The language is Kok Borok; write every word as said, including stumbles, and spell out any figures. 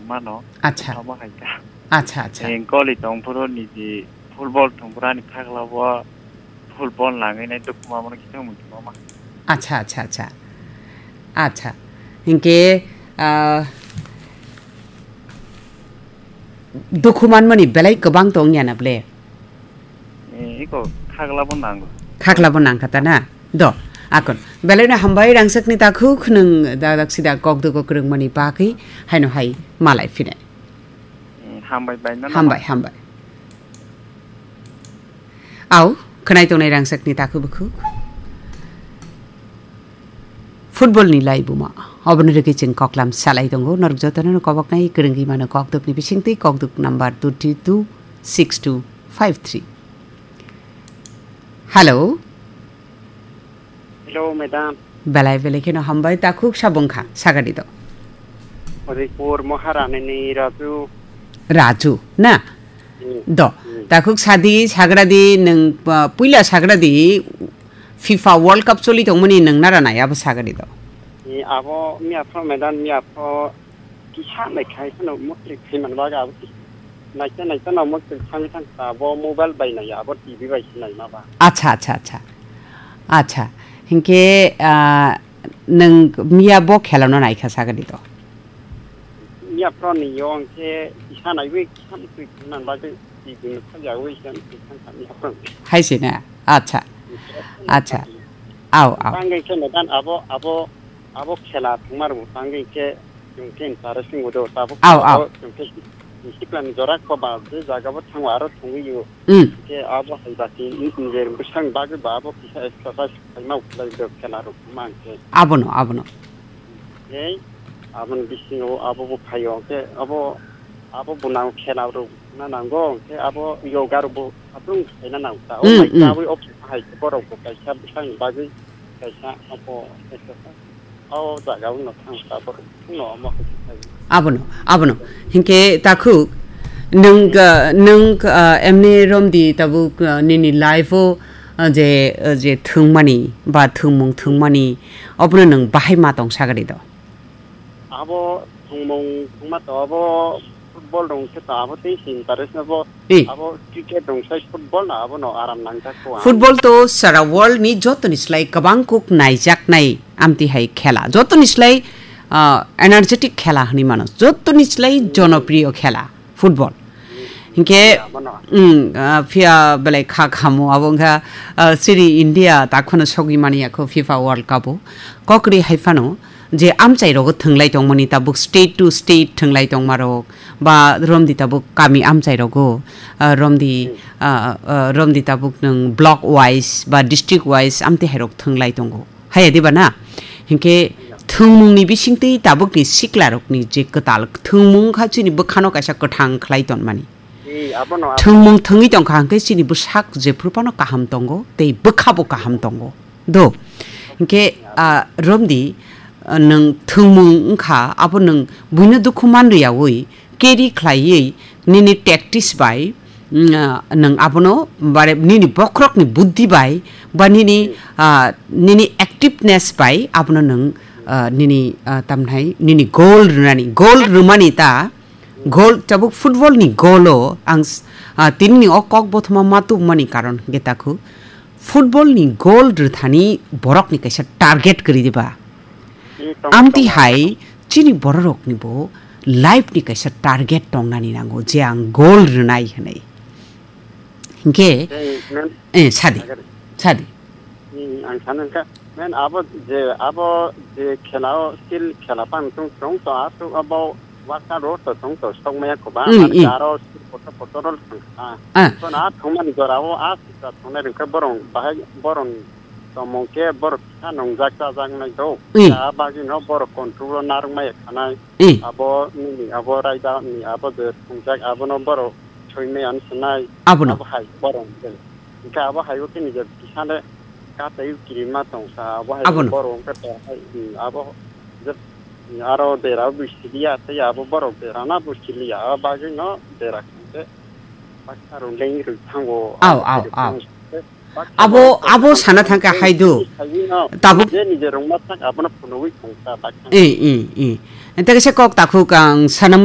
mano. Acha. Tamo hai ka. Acha, acha. Eng koli tong phuru niji football tong phuru ani khakla bo football nangwi nai dukhu ma mano kisa mung tong ma. Acha, acha, acha. Acha. Hinkhe, ah, dukhu manmani belai kwbang tong ya na ble? Eh, iko khakla bo nango. Khakla bo nang kha ta na? Do, akon. Belai no hambai rangsak ni takhuk nung da dak sida kok dugo kwrwng mani bagwi haino hai malai phine. Mm, hambai bai no. Hambai, hambai. Au, khwnai tongnai rangsak ni takhuk bukhuk. Football ni laibuma. Oboni rwgwi chwng koklam salai tongo. Norok jotono no koboknai kwrwngwi mano kokduk ni bisingtwi kokduk number two three two six two five three. Hello. Hello, madam. Belai belai kheno hambai, takhuk sabung kha, sagadi do. Udaipur Maharani ni Raju. Raju, na? Hmm. Do. Hmm. Takhuk sadi, sagradi, nung, uh, puila sagradi, FIFA World Cup choli tongmani nung nara nai, abo sagadi do. Ni abo, mi aphro, madam, mi aphro, kisa nai khai phano mostri khai man baga abo kisa. Naikhe naikhe no mostri thangwi thang ta bo mobile bai nai abo T V bai se nai ma ba. Acha, acha, acha. Acha. Hinkhe, ah, nwng miya bo khela no naikha sagadi to. Miya pro ni yo hinkhe kisa naiwi kisa mostri khai man bagwi T V no khajawi kisa mostri thang ta miya pro. Hai se na. Acha. Acha. Au, au. Tangwi khe medan abo, abo, abo khela thwngma rwngwi tangwi khe chwng khe interest wngwi do. Tabuk Au, au. Chwng khe siklani jora kho ba je jaga bo thango aro thwngwi o. Mm. Khe abo hai ba ki nijor bwsang bagwi ba abo kisa exercise khaima ukhulai do khela rok mang khe. Abono, abono. Ei, aboni bisingo abo bo phaio khe abo, abo bo nang khela rok na nango khe abo yoga rok bo atung khaina nang ta. O Mm, mai mm. Tabwi o hai borok bo kaisa bwsang bagwi kaisa abo exercise. O jaga uno thang ta borok uno omo hai khai. Abono, abono. Hinkhe takhuk, nwng, ah, nwng, ah, emni romdi tabuk, ah, nini life o, ah, je, ah, je thwngmani ba thwngmung thwngmani, obono nwng bahai ma tong sagadi do? Abo thwngmung thwngma to abo football rong khe to abo tei si interest no bo. Abo cricket rong sai football no abo no aram nangjak ko ang. Football to sara world ni joto ni slai kwbang kuk naijaknai amti hai khela. Joto ni slai, ah, energetic khela hwnwi mano. Joto ni slai jonopriyo khela football. Hinkhe, Abono. Mm, ah, phiya belai kha khamu abo wngkha, ah, siri India takhwno sogwi mani yakho FIFA World Cup o. Kokri hai phano je amchai rogo thwnglai tongmani tabuk state to state thwnglai tongma rok ba romdi tabuk kami amchai rogo, ah, romdi, Mm. ah, ah, romdi tabuk nwng block wise ba district wise amte hai rok thwnglai tongo. Haya diba na? Hinkhe thwngmungni bisingtwi tabukni siklarokni je kwtal thwngmung kha chini bwkhano kaisa kwthang khlai tonmani. Ee, abono, abono. Thwngmung thwngwi tongkha hinkhe chini bwsak jephru phano kaham tongo tei bwkhabo kaham tongo. Do. Hinkhe, ah, romdi, ah, nwng thwngmung wngkha abo nwng buino dukhu manriyawi carry khlaiwi nini tactics bai, mm, ah, nwng abono bare nini bokhorokni buddhi bai ba nini, Hmm. ah, nini activeness bai abono nwng, ah, nini, ah, tamnai nini goal rwnani, goal rwmani ta, goal tabuk football ni goal o ang s-, ah, tinini o kok bothoma ma tubumani karon hwnkhe takhu football ni goal rwthani borokni kaisa target kwrwi diba? Ee, tongo, amtwi tongo. Hai chini bororokni bo life ni kaisa target tongnani nango je ang goal rwnai hwnwi. Hinkhe, Ee, men, eh, sadi, agari. Sadi. Hmm, ang sano wngkha, men abo je, abo je khela o still khela pang tung tung to, a to abo workout ro to tung to sok maya ko ba, Hmm, mar hmm. Aro still kotor kotor rol thang kha. Ah. To na thongmani jora o a sita thongnai rwngkha borong bahai borong tomong khe borok kisa nongjak chajak nai do. Hmm. A bagwi no borok control o narwk maya khanai. Hmm. Abo nini abo raida ni abo je thongjak abono borok soi maya no sanai. Abono. Abo hai borong je. Hingke abo hai o khe nijor kisa le katai kirima tongsa, abo hai Abono. Borok wngkha to hai, hmm, abo je, hmm, aro dera bo siliya, tei abo borok dera na bo siliya, abo bagwi no dera khe baksa rok leng rwi thango. Aw, aw, aw. Baksa Abo, rok abo sana thangkha hai do. Tabuk je nijor rwngma thang abono phunugwi tongsa baksa. Eh, eh, eh. Ente kaisa kok takhuk ang sanam